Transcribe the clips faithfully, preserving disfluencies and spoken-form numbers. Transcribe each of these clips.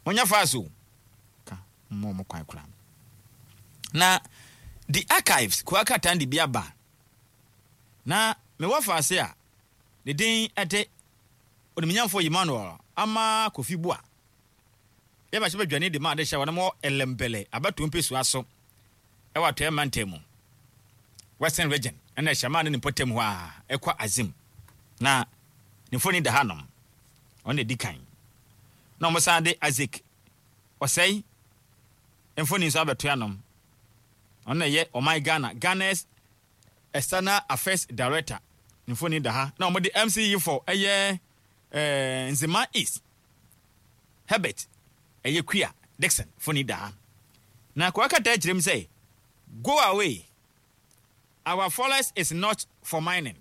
Monyɛ fast o. Ka mmɔ mo kwan koraa. Na The Archives koa krataa no de bi aba. Na mewɔ faase a ne din de Onimnyamfo Emmanuel Ama Kofi Boa. Yɛ mmarahyɛbadwani de ma adehyɛ a wɔnom wɔ Elembele abatoɔ mpesua so wɔ Atɔeɛ Mantam mu, Western Region, ɛna Hyɛmaa ne ne mpɔtam hɔ a ɛkɔ Azim. Na ne mfoni da hanom. Ɔno na ɛdi kan. Na wɔsan de Isaac Ɔsɛe mfoni nso abɛto anom. Ɔno na ɛyɛ ɔman Ghana, Ghana's External Affairs Director. Ne mfoni da ha. Na wɔde M C E for ɛyɛ eh, Nzema East, Herbert ɛyɛ Kua Dixon mfoni da ha. Na kɔkata kyerɛ mu sɛ, "Go away. Our forest is not for mining."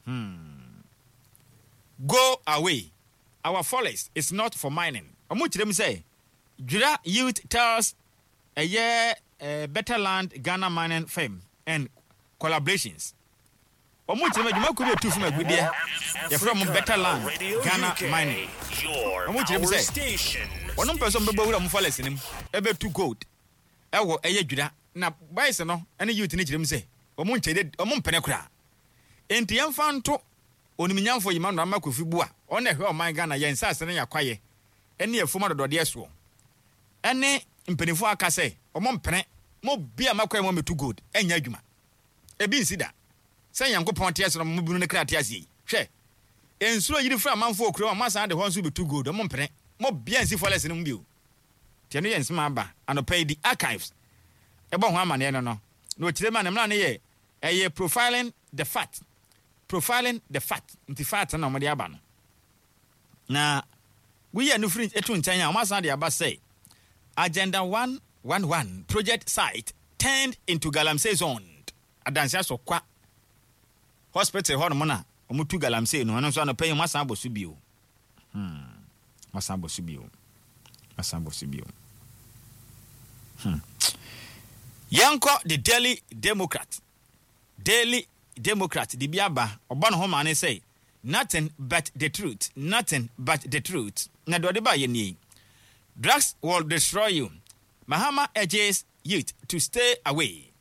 Hmm. "Go away. Our forest is not for mining." Ɔmo kyerɛ mu sɛ, Gwira youth tells ɛyɛ uh, Better Land Ghana mining firm and collaborations. Ɔmo kyerɛ mu adwumakuo bi etu fam agudeɛ yɛfrɛ ɔmo Better Land Ghana Mining. Ɔmo kyerɛ mu sɛ wɔn mpɛ sɛ ɔmo bɛbɔ wura ɔmo forest no mu ɛbɛtu gold ɛwɔ ɛyɛ Gwira, na boys no ɛne youth no kyerɛ mu sɛ ɔmo nkyɛn ɔmo mpene koraa. Nti yɛmfa nto onimnyamfo Emmanuel Armah Kofi Buah, ɔno ɛhwɛ ɔman Ghana yɛn nsaase ne yɛakwaeɛ ɛne afuom adɔdɔdeɛ soɔ, ɛne mpanimfoɔ aka sɛ ɔmo mpene mo bia makwae mu ɔmɛtu gold ɛnyɛ adwuma. Ebi nsi da sɛ Nyankopɔn te ase no mo bunu ne kra te ase yi. Hwɛ, nsuo yiri fira amanfoɔ okuro a mo asan de hɔ nso bɛtu gold. Ɔmo mpene mo bia nsi forest no mu bio. Tiɛ no yɛ nsɛm aba anɔpa yi di Archives ɛbɔ ho amaneɛ no no na ɔkyerɛ mu a ne mmara no yɛ ɛyɛ profiling the fat, profiling the fat. Nti fat na ɔmode aba no na woyɛ no firi etu nkyɛn a, wɔn asan de aba sɛ Agenda one one one project site turned into galamsey zone. Adansi Asokwa Hospital hɔ nom na wɔn tu galamsey no, ɛno nso anɔpa yi wɔn asan abɔ so bio. hmm wɔn asan abɔ so bio, wɔn asan abɔ so bio. hmm yɛnkɔ The Daily Democrat. Daily Democrat de bi aba, ɔbɔ ne ho maa ne sɛ "Nothing but the truth, nothing but the truth." Na deɛ ɔde ba yɛ nie: "Drugs will destroy you. Mahama urges youth to stay away."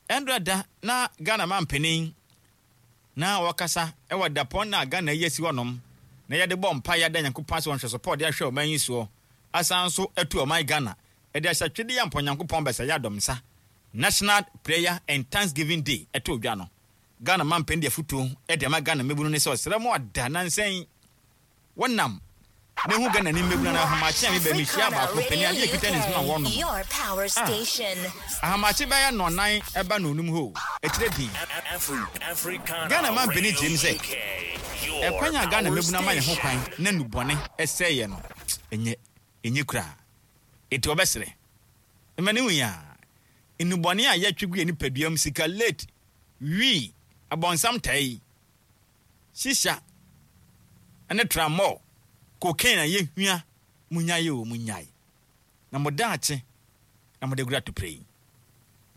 Ɛndra da na Ghana man panin na wɔkasa ɛwɔ dapɔn na Ghana yi asi hɔnom na yɛde bɔ mpa yɛada Nyankopɔn ase wɔ nhwɛsopɔ ɔde ahwɛ ɔman yi soɔ, asan nso atu ɔman Ghana ɛde ahyɛ twede yɛ mpɔ Nyankopɔn bɛsɛ yɛ adɔm nsa, National Prayer and Thanksgiving Day ɛto dwa no. Ghana man panin de afotuo ɛde ama Ghana mmabunu ne sɛ ɔsrɛ mu ada nansɛn wɔnam na ehu Ghana ni mmabunu na ahamakye a mebɛ mehyia baako panin adeɛ ekita ne nsam a wɔnom ah ahamakye bɛyɛ nnɔnan ɛba na onum hɔ akyire din. Ghana man panin kyerɛ mu sɛ ɛkwan a Ghana mmabunu ama yɛn ho kwan na nubɔne ɛsɛe yɛ no, ɛnyɛ ɛnyɛ koraa. Eti ɔbɛsrɛ mma ne hu yɛ a nnubɔne a yɛtwe gu yɛn nipadua mu, sika late wii abɔnsam tae, shisha ne tramol, cocaine a yɛhua, munyae o, munyae na mo daakye na mode gura topere yi.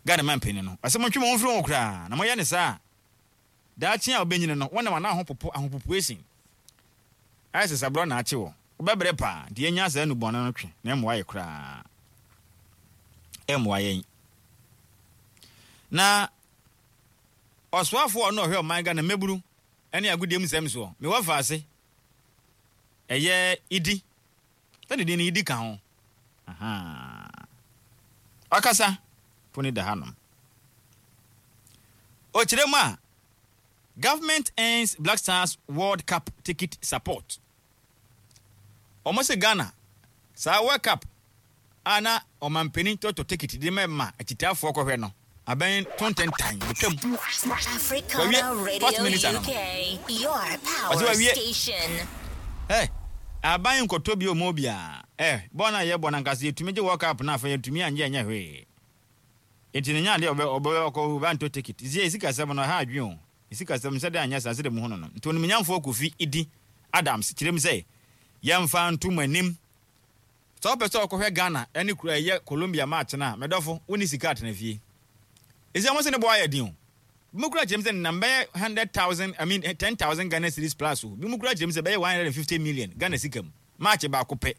Ghana man panin no ɔsɛ montwe mo ho mfiri ho koraa na moyɛ ne saa daakye a wobɛnyini no wɔnam ana ahopopo ahopopoesin ayɛ sɛ saborɔ na akye wɔ wobɛbrɛ paa. Nti yɛnya saa nnubɔne no twe na ɛmmoa yɛ koraa, ɛmmoa yɛn. Na ɔsoafoɔ a ɔno ɔhwɛ ɔman Ghana mmɛburu ne agodie mu nsɛm soɔ, mewɔ faase ɛyɛ Idi sɛde din no Idi ka ho ɔkasa po ne da hanom. Ɔkyerɛ mu a, "Government ends Black Stars World Cup ticket support." Ɔmo sɛ Ghana saa World Cup a na ɔmampanin tɔtɔ ticket de ma ma akyitaafoɔ kɔhwɛ no, abɛn tontentan betwam. Wawie first minister no ɔsɛ wawie ɛ aban nkɔtɔ bi ɔmo biara ɛ bɔɔl no a yɛbɔ no ankasa yɛtumi gye World Cup no, afei yɛtumi anyɛ ɛnyɛ hwee. Nti ne nya adeɛ ɔbɛ ɔbɛ ɔkɔ ɔbɛ antɔ ticket zie sikasɛm no ɛha adwene o, sikasɛm sɛdeɛ anyɛ saa sɛdeɛ mu hu no no Nti onimnyamfoɔ Kofi Idi Adams kyerɛ mu sɛ yɛmfa nto mu anim sɛ wopɛ sɛ ɔkɔhwɛ Ghana ɛne kura ɛyɛ Colombia match no a, mɛdɔfo wonni sika atena fie. Ɛsi ɔmo sɛ ne bɔ ayɛ den o. Bi mu kura kyerɛ mu sɛ nenam bɛyɛ hundred thousand, I mean, ten thousand Ghana cedis plus o. Bi mu kura kyerɛ mu sɛ bɛyɛ one hundred and fifty million Ghana sika mu, match baako pɛ.